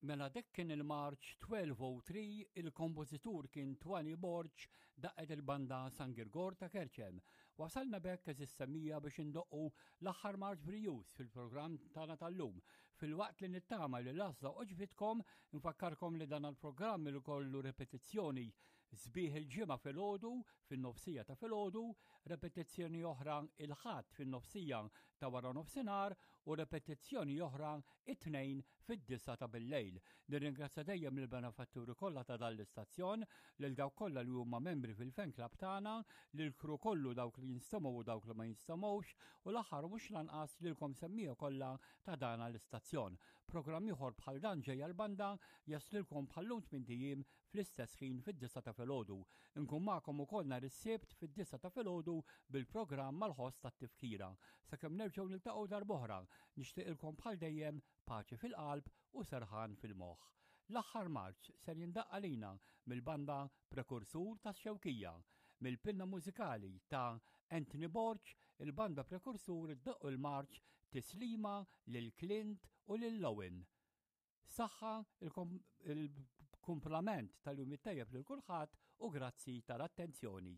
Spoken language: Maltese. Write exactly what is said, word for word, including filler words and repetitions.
Mela dak kien il-marċ tnax oh tlieta, il-kompożitur kien Twani Borg, daqqet il-banda San Girgor ta' Kerċem. Wasalna b'hekk, għeżież semmiegħa, biex indoqqu l-aħħar marċ brijuż fil-programm tagħna tal-lum. Filwaqt li nittama li l-għażla għoġbitkom, nfakkarkom li dan il-programm il kollu repetizzjoni sbieħ il-Ġimgħa filgħodu, fin-nofsija ta' filgħodu, repetizzjoni oħra il-Ħadd fin-nofsija ta' wara nofsinhar u repetizzjoni oħra it-Tnejn fid-disgħa ta' bil-lejl. Nirringrazzja dejjem il-benefatturi kollha ta' dan l-istazzjon, lil dawk kollha li huma membri fil-fan club tagħna, lil crew kollu, dawk li jinstemgħu u dawk li ma jinstemgħux, u l-aħħar mhux lanqas lilkom semmiegħa kollha ta' dan l-istazzjon. Programm ieħor bħal dan, Ġejja l-Banda, jaslilkom bħal-lum tmint ijiem fl-istess ħin, fid-disgħa ta' filgħodu. Nkun magħkom ukoll nhar is-Sibt fid-disgħa ta' filgħodu bil-programm mal-ħoss tat-tifkira. Sakemm nerġgħu niltaqgħu darb'oħra, nixtieqilkom bħal dejjem paċi fil-qalb u serħan fil-moħħ. L-aħħar marċ ser jindaqq għalina mill-banda Prekursur ta' Xewkija, mill-pinna mużikali ta' Anthony Borg, il-banda Prekursur iddoqq il-marċ Tislima lil Clint u lil Owen. Saħħa, il-kumplament tal-jum it-tajjeb lil kulħadd u grazzi tal-attenzjoni.